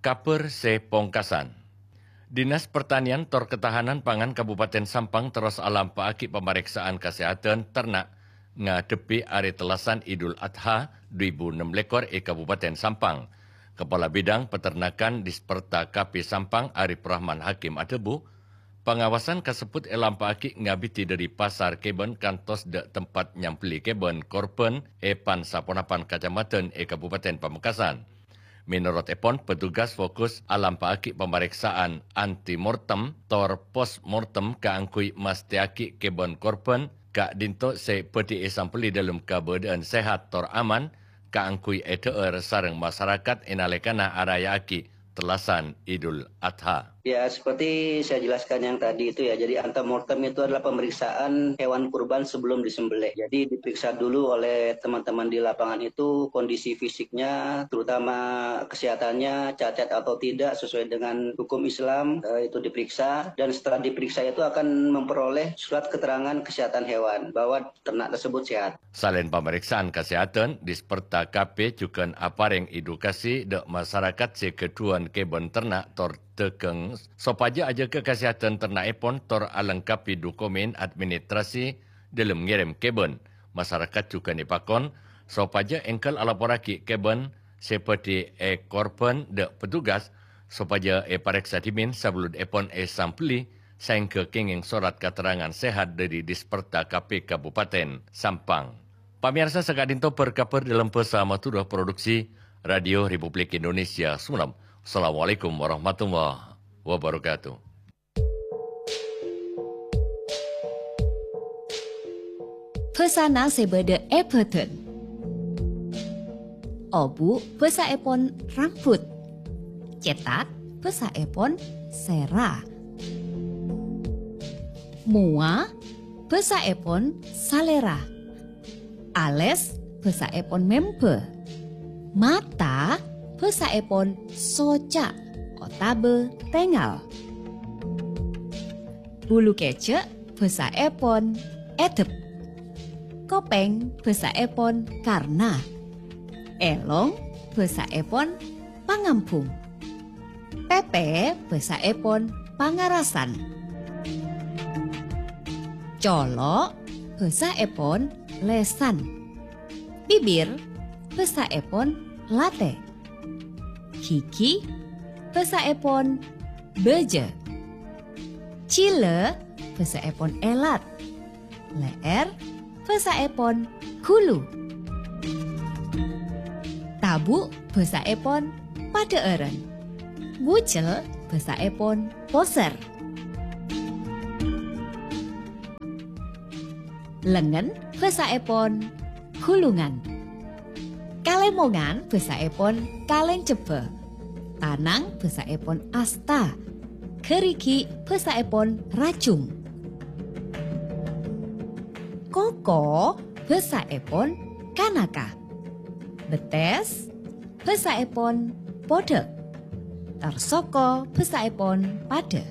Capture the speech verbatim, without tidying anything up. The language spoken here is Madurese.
Kabhâr sè pongkasan. Dinas Pertanian tor Ketahanan Pangan Kabupaten Sampang terros alampa'aghi pamarèksa'an kasèhadhân terna' ngadhebbhi Arè Tellasan Idul Adha du èbu ennem lèkor è Kabupaten Sampang. Kepala Bidang Peternakan Disperta K P Sampang Arif Rahman Hakim adhâbu, pangawasan kasebbhut èlampa'aghi ngabidhi dhâri pasar kèbân kantos dhâ' tempat nyambelli kèbân korbhân è pan-saponapan kacamadhân è Kabupaten Pamekasan. Mènorot èpon, petugas fokus alampa'aghi pamarèksa'an antemortem tor postmortem kaangghuy mastèyaghi kèbân korbhân ka'dinto sè bhâdhi èsambelli dhâlem kabâdâ'ân sehat tor aman kaangghuy èdhâ'âr sareng masarakat è nalèkana araya'aghi tellasan Idul Adha. Ya, seperti saya jelaskan yang tadi itu ya, jadi antemortem itu adalah pemeriksaan hewan kurban sebelum disembelih. Jadi diperiksa dulu oleh teman-teman di lapangan itu kondisi fisiknya, terutama kesehatannya, cacat atau tidak sesuai dengan hukum Islam, eh, itu diperiksa. Dan setelah diperiksa itu akan memperoleh surat keterangan kesehatan hewan bahwa ternak tersebut sehat. Salaèn pamarèksa'an kasèhadhân, Disperta K P jhughân aparèng edukasi dhâ' masarakat sè ghâdhuwân kèbân terna' tor dhâghâng sopajâ ajâgâ kasèhadhân terna'èpon tor alengkabhi dokumen administrasi dhâlem ngèrèm kèbân. Masarakat jhughân èpakon sopajâ èngghâl alaporraghi kèbân sè bhâdhi èkorbhân dhâ' petugas sopajâ èparèksa dhimèn sabellunèpon èsambelli saèngghâ kèngèng sorat katerrangan sehat dhâri Disperta K P Kabupaten Sampang. Pamèyarsa, saka'dinto bâr-kabhâr dhâlem bhâsa Madhurâ, produksi Radio Republik Indonesia Sumenep. Assalamualaikum warahmatullahi wabarakatuh. Bhâsana sè bâdâ è bhâdhân. Obu' bhâsaèpon rambut. Cètak bhâsaèpon sèra. Mowa bhâsaèpon salèra. Alès bhâsaèpon membâ. Mata bhâsaèpon soca' otabâ tèngal. Bulu kècè' bhâsaèpon èdep. Kopèng bhâsaèpon karna. Èlong bhâsaèpon pangambhung. Pèpè bhâsaèpon pangarasan. Colo' bhâsaèpon lèsan. Bibir bhâsaèpon latè. Ghighi bhâsaèpon bâjâ. Jhilâ bhâsaèpon èlat. Lè'èr bhâsaèpon ghulu. Tabu' bhâsaèpon padhâ'ârân. Bujel bhâsaèpon posèr. Lengngen bhâsaèpon ghulungan. Kalèmongan bhâsaèpon kalèncebbhâ. Tanang bhâsaèpon asta. Ghârighi' bhâsaèpon rajung. Koko bhâsaèpon kanaka. Bettès bhâsaèpon podhâ'. Tor soko bhâsaèpon padhâ'.